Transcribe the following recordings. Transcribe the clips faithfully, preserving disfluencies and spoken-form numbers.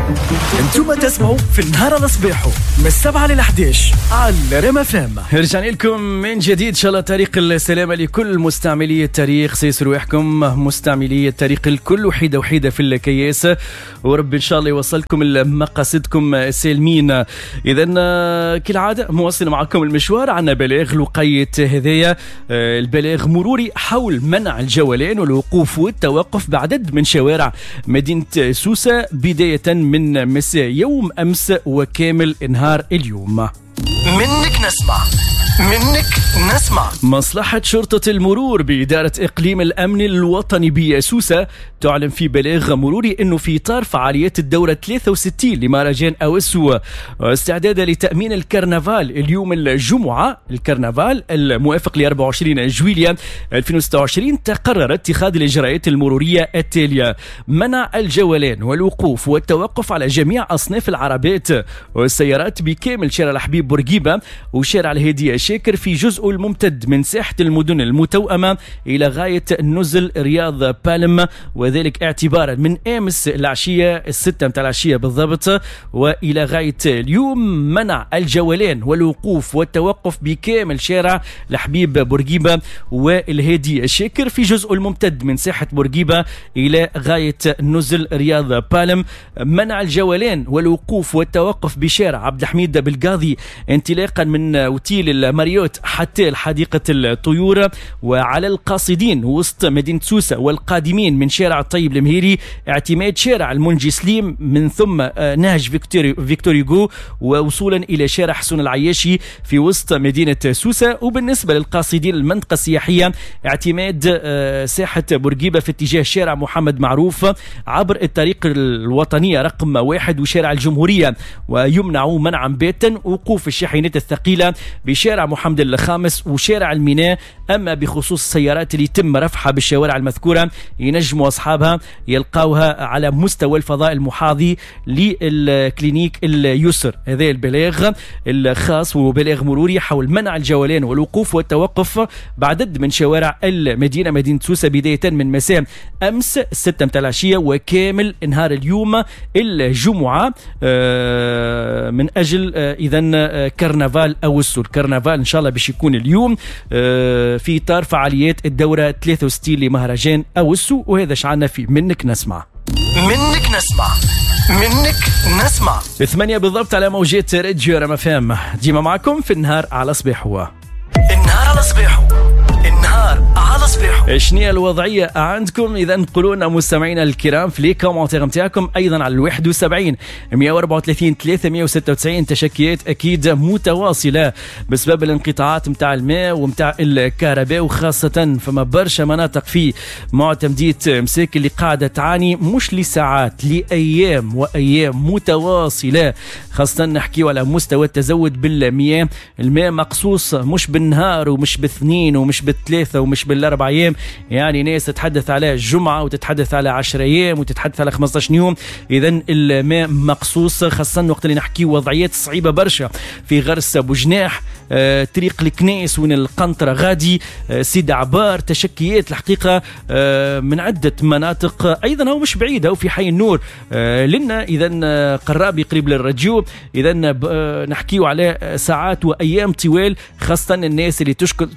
انتم تسمعوا في النهار على صباحه من السبعة للحداش على رام FM. رجعنا لكم من جديد، ان شاء الله طريق السلامة لكل مستعملي الطريق، سيسروا رواحكم مستعملي الطريق الكل وحيده وحيده في الكياس، وربي ان شاء الله يوصلكم لمقاصدكم سالمين. اذا كالعادة مواصل معكم المشوار، عندنا بلاغ لقيت هذايا البلاغ مروري حول منع الجولان والوقوف والتوقف بعدد من شوارع مدينة سوسة بداية من مساء يوم أمس وكامل نهار اليوم. منك نسمع، منك نسمع. مصلحة شرطة المرور بإدارة إقليم الأمن الوطني بسوسة تعلن في بلاغ مروري أنه في إطار فعاليات الدورة ثلاثة وستين لمهرجان أوسو استعدادا لتأمين الكرنفال اليوم الجمعة، الكرنفال الموافق ل أربعة وعشرين جويلية ألفين وستة وعشرين، تقرر اتخاذ الإجراءات المرورية التالية: منع الجولان والوقوف والتوقف على جميع أصناف العربات والسيارات بكامل شارع الحبيب بورقيبة وشارع الهادي شاكر في جزء الممتد من ساحة المدن المتوأمة إلى غاية نزل رياض بالم، وذلك اعتبارا من أمس العشية الستة متاع العشية بالضبط وإلى غاية اليوم. منع الجولان والوقوف والتوقف بكامل شارع الحبيب بورقيبة والهادي شاكر في جزء الممتد من ساحة بورقيبة إلى غاية نزل رياض بالم. منع الجولان والوقوف والتوقف بشارع عبد الحميد بالقاضي انطلاقا من أوتيل الماريوت حتى حديقة الطيور، وعلى القاصدين وسط مدينة سوسة والقادمين من شارع الطيب المهيري اعتماد شارع المنجي سليم من ثم نهج فيكتوري فيكتوريغو ووصولا إلى شارع حسن العياشي في وسط مدينة سوسة. وبالنسبة للقاصدين المنطقة السياحية اعتماد ساحة بورقيبة في اتجاه شارع محمد معروف عبر الطريق الوطنية رقم واحد وشارع الجمهورية، ويمنع منعا باتا وقوف الشاحنات الثقيلة بشارع محمد الخامس وشارع الميناء. أما بخصوص السيارات اللي يتم رفعها بالشوارع المذكورة ينجموا أصحابها يلقاوها على مستوى الفضاء المحاذي لل clinique اليسر. هذا البلاغ الخاص وبلاغ مروري حول منع الجولان والوقوف والتوقف بعدد من شوارع المدينة مدينة سوسة بداية من مساء أمس ستة متاع العشية وكامل نهار اليوم الجمعة من أجل إذن كرنفال أوسو. الكرنفال إن شاء الله باش يكون اليوم في إطار فعاليات الدورة ثلاثة وستين لمهرجان أوسو. وهذا شعنا في منك نسمع. منك نسمع، منك نسمع. ثمانية بالضبط على موجات راديو رام FM، ديما معكم في النهار على صباحو. النهار على صباحو، النهار على صباحو. شنو الوضعية عندكم؟ إذا قولوا لنا مستمعينا الكرام في les commentaires نتاعكم، أيضا على الواحد وسبعين مئة وأربعة وثلاثين ثلاثمئة وستة وتسعين. تشكيات أكيد متواصلة بسبب الانقطاعات متاع الماء ومتاع الكهرباء، وخاصة فما برشا مناطق في معتمدية مساكن اللي قاعدة تعاني مش لساعات، لأيام وأيام متواصلة، خاصة نحكيو على مستوى التزود بالمياه. الماء مقصوص مش بالنهار ومش باثنين ومش بالثلاثة ومش بالأربع أيام، يعني ناس تتحدث على جمعة وتتحدث على عشر أيام وتتحدث على خمسة عشر يوم. إذن الماء مقصوص، خاصة وقت اللي نحكي وضعيات صعيبة برشا في غرس بوجناح، آه، طريق الكنيس وين القنطرة غادي، آه، سيد عبار. تشكيات الحقيقة آه، من عدة مناطق، أيضا هو مش بعيد، هو في حي النور آه، لنا إذن قرابي قريب للراديو. إذن آه، نحكيو على ساعات وأيام طوال، خاصة الناس اللي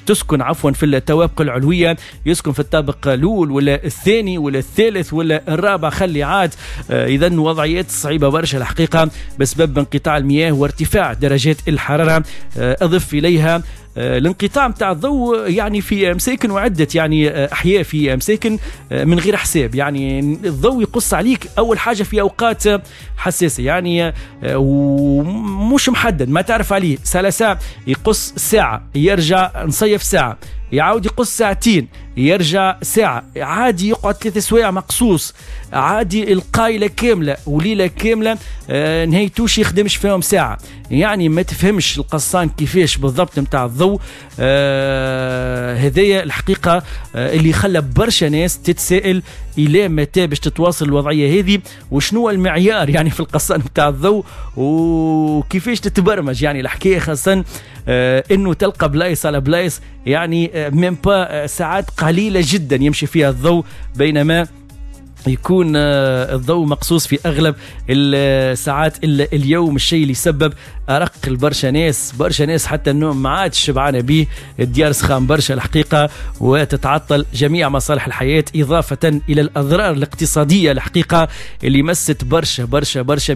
تسكن عفوا في الطوابق العلوية، يسكن في الطابق الأول ولا الثاني ولا الثالث ولا الرابع، خلي عاد. آه، إذن وضعيات صعيبة برشا الحقيقة بسبب انقطاع المياه وارتفاع درجات الحرارة. آه، أضف إليها الانقطاع متاع الضوء يعني في مساكن وعدة يعني أحياء في مساكن من غير حساب، يعني الضوء يقص عليك أول حاجة في أوقات حساسة يعني ومش محدد، ما تعرف عليه، ساعة ساعة يقص ساعة، يرجع نصيف ساعة، يعاود يقص ساعتين، يرجع ساعة، عادي يقعد ثلاث سوايع مقصوص، عادي القايلة كاملة وليلة كاملة آه نهايتوش يخدمش فيهم ساعة. يعني ما تفهمش القصان كيفاش بالضبط متاع الضوء. آه هذايا الحقيقة آه اللي خلى برشا ناس تتسائل إلى متى باش تتواصل الوضعية هذه، وشنو المعيار يعني في القصان متاع الضوء وكيفاش تتبرمج يعني الحكاية، خاصة آه انه تلقى بلايص على بلايص يعني آه même pas ساعات قليلة جدا يمشي فيها الضوء، بينما يكون آه، الضوء مقصوص في اغلب الساعات اليوم، الشيء اللي يسبب ارق لبرشا ناس، برشا ناس حتى النوم ما عادش شبعانه به، الديار سخان برشا الحقيقه، وتتعطل جميع مصالح الحياه، اضافه الى الاضرار الاقتصادية الحقيقة اللي مست برشا برشا برشا.